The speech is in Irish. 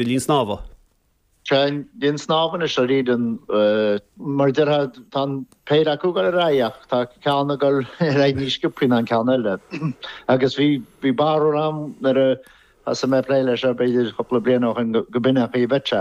Linn snámha. Sea, an linn snámha anois dáiríre, mar a déarfá, tá an péire acu ag dul ar aghaidh ach tá ceann ag dul ar aghaidh níos sciobthaí ná an ceann eile. Agus bhí, bhí barúil agam nuair a thosaigh mé ag plé leis seo b'fhéidir cúpla bliain ó shin go b'in an chaoi a bheadh sé.